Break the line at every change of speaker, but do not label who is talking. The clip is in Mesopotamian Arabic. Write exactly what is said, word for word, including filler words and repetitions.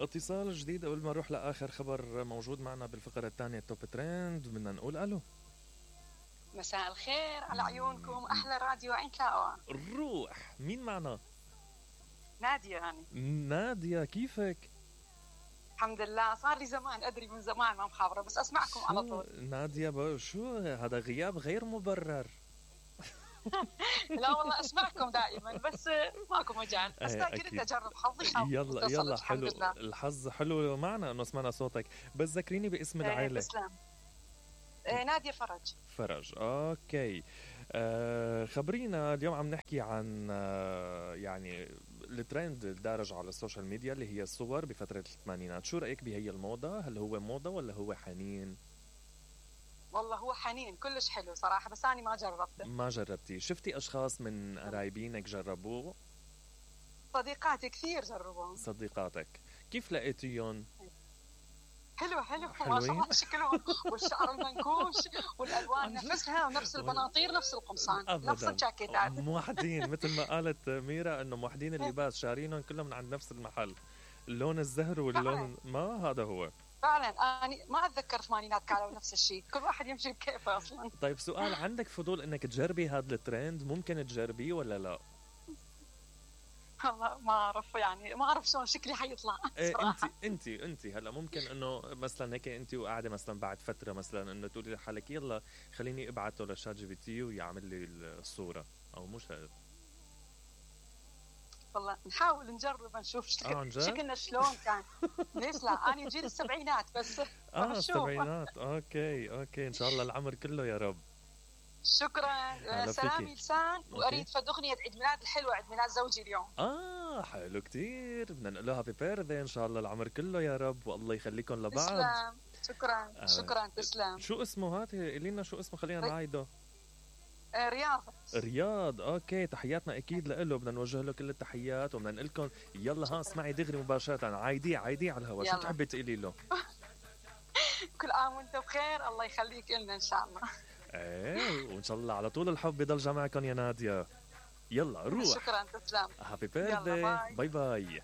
اتصال جديد قبل ما نروح لاخر خبر موجود معنا بالفقره الثانيه توب ترند. بدنا نقول الو.
مساء الخير على عيونكم، احلى راديو عين تلاقوها.
الروح، مين معنا؟
نادية يعني.
نادية، كيفك؟
الحمد لله، صار لي زمان ادري من زمان ما مخابرة، بس اسمعكم على طول.
نادية بقى شو هذا غياب غير مبرر.
لا والله اسمعكم دائما، بس ماكو مجال، بس قلت اجرب حظي.
يلا يلا حلو، الحظ حلو معنا انه سمعنا صوتك. بس ذكريني باسم العائله.
تسلم. نادية فرج.
فرج، اوكي. آه خبرينا، اليوم عم نحكي عن آه يعني الترند الدارج على السوشيال ميديا اللي هي الصور بفترة الثمانينات. شو رأيك بهي الموضة؟ هل هو موضة ولا هو حنين؟
والله هو حنين كلش حلو صراحة، بس أنا ما جربته.
ما جربتي؟ شفتي أشخاص من قرايبينك جربوه؟
صديقاتي كثير جربوه.
صديقاتك كيف لقيتيهم؟
حلو حلو ما شاء الله شكلهم، والشعر المنكوش والالوان نفسها، ونفس البناطير نفس القمصان نفس الجاكيتات.
موحدين مثل ما قالت ميرا انه موحدين اللباس، شارينهم كلهم من عند نفس المحل. اللون الزهر واللون ما هذا هو
فعلا. انا ما اتذكر ثمانينات كانوا نفس الشيء، كل واحد يمشي بكيفه اصلا.
طيب سؤال، عندك فضول انك تجربي هذا الترند؟ ممكن تجربيه ولا لا؟
والله ما اعرف، يعني ما اعرف شلون شكلي حيطلع.
إيه انت انت انت هلا ممكن انه مثلا هيك انت وقاعده مثلا بعد فتره مثلا انه تقولي لحالك يلا خليني ابعته لشات جي بي تي ويعمل لي الصوره، او مش هذا.
والله نحاول نجرب نشوف شكل
آه
شكلنا شلون كان. ليش لا، انا جيل السبعينات بس.
اه السبعينات. اوكي اوكي، ان شاء الله العمر كله يا رب.
شكرا. سلامي لسان، واريد فد اغنيه عيد ميلاد الحلوه، عيد ميلاد زوجي اليوم.
اه حلو كتير، بدنا نقول له هابي بيرثدي ان شاء الله العمر كله يا رب، والله يخليكم لبعض.
تسلم. شكرا آه. شكرا تسلم.
شو اسمه هات قولي لنا شو اسمه، خلينا نعيده.
آه رياض.
رياض، اوكي. تحياتنا اكيد له، بدنا نوجه له كل التحيات، وبدنا نقول لكم يلا ها اسمعي دغري مباشره، عايدي عايدي على الهواء. شو تحبي تقولي له؟
كل عام وانت بخير، الله يخليك لنا ان شاء الله.
ايه، وان شاء الله على طول الحب يضل جمعكم يا نادية. يلا روح.
شكرا تسلم.
هابي بيرثدي. باي باي.